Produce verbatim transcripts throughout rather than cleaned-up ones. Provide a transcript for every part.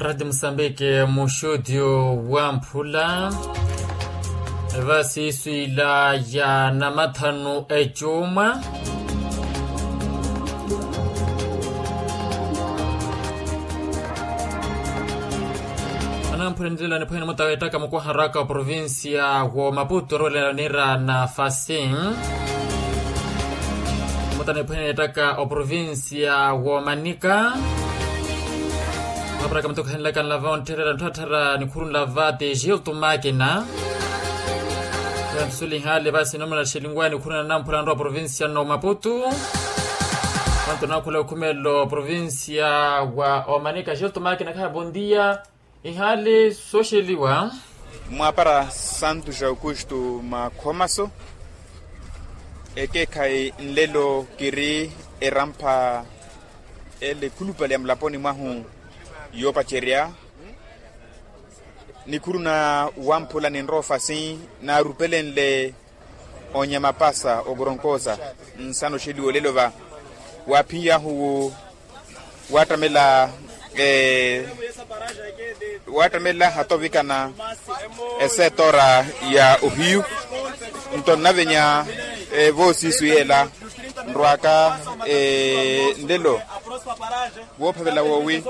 Rati musambiki muxuti wamphula. Vasiiswila ya namathanu ecumwa. Anamphula nilelani phwene mutawettaka mukwaha raka oprovincia wo maputo orwelelani ra na fasin. Mutaniphwene ettaka oprovincia wo manika. Maparaka mutokhanelaka nlava ontherera ntthu atthara nikhuru nlava ti gilto makina. Yantusuli hale vasi nomela xelinguwa nikhuru nanamphula nrowa provincia no maputu. Vantu nakhula okhumelo provincia wa omanika gilto makina khaha bondia. Ihali soxeliwa. Mwapara santu jaukustu makhomaso. Ekeekhayi nlelo kiri erampha ele khulupale ya mulaponi mwahu yoopacerya. Nikhuru na wamphula ninroofasi naarupelenle onyamapasa okoronkosa. Nsana oxeliwa olelo va waaphiyahu waattamela. Waattamela hata ovikana esetora ya ohiyu. Nto nnavenya voosiisu yeela nrwaka nlelo woophavela woowi.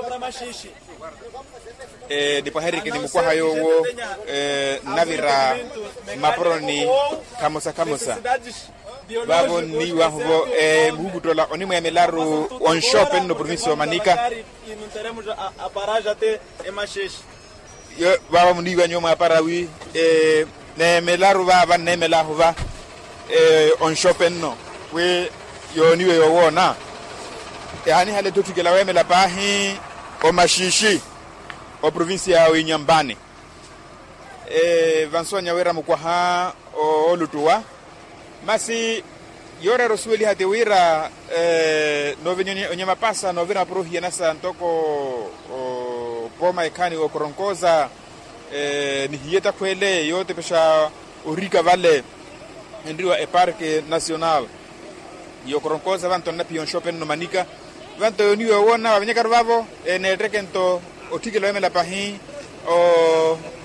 Nipwaheriki ni mukwaha yoowo nnavira mmaporoni khamosa khamosa. Vaavo nniiwahu-vo muhukuttola onimweemelaru onxoope nno provincia omanika. Vaavo muniiwa nyuwo mwaapara wi neemelaru vaava nneemelaahu va onxoope nno wi yooniwe yoowoona. Ehaanihale etthu otthikela weemela paahi omaxiixi oprovincia ya winyambani. Vansoonya wira mukwaha ooluttuwa masi yooreera osuweliha ti wira noovenya onyamapasa noovira mapuro ohiyanasa ntoko pooma ekhaani wookoronkoza nihiye etakhweele yootepexa orika vale enriwa eparke nacional. Yookoronkoza vanto nnaphiya onxoope nno manika vanto yooniwa yoowoona vaavenyakaru vaavo neetteke nto otthikela weemela pahi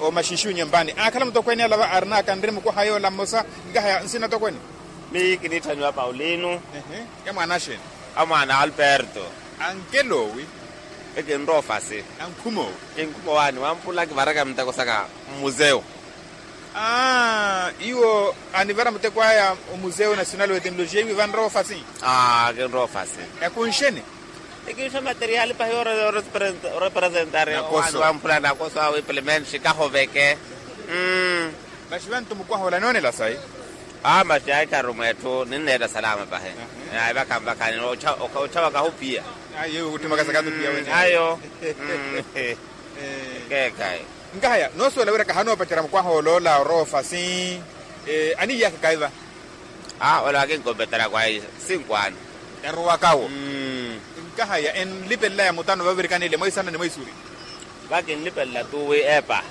omaxiixi onyambani aakhala mutokweene alava arina akanre mukwaha yoola mmosa. Nkahaya nsina tokweene. Miyo kiniitthaniwa paulino. Ya mwaana axeeni? A mwaana alberto. Ankelo owi? Ekinroofasi. Ankhuma owi? Kinkhuma owaani wampula kivaraka muteko saka mmuseu. Aa iwo anivara muteko aya omuseu national wa etenologia iwi vanroofasi. Aa kinroofasi. Yakunxeni? Ekinxa materiali pahi orepresentari owaani wamphula nakoso awo implemenxi kahoveke. Mmm. Maxi vantu mukwaha ola noonela sayi. Aa maxi aikaru mweetthu ninneetta salama pahi. Aivaka mvakani. Otthavaka ahuphiya. Ayo. Keekhayi. Nkahaya noosuwela wira kahanoopacerya mukwaha oloola oroofasi. Aniiyaka kayi va? Aa ole wakinkompetera kwayi sinkwaani. Erowakawo. Nkahaya enlipelelaya mutano vavirikana ile mwaisana ni mwaisuri. Vakinlipelela tuwi epa.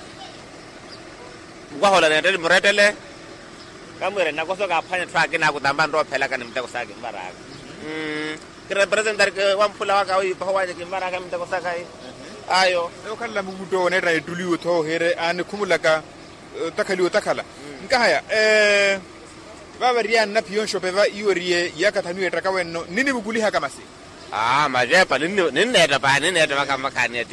Mukwaha ole neetteli murettele. Kamwire nnakoso kaaphwanya etthu akina akutamba nroophelaka ni muteko saka kinvaraka. Kirepresentari wamphula waka wiipaha owaani kinvaraka muteko saka. Ayo. Okhalela mukutto oneetta ettuli iwo tho ohiire aanikhumulaka otakhaliwa otakhala. Nkahaya vaava riyaani naphiya onxope va iwo eriye iyaka thanu yeettaka wenno ninivukulihaka masi. Aa maceepa ninneetta paani ninneetta vaka mvakhaani eti.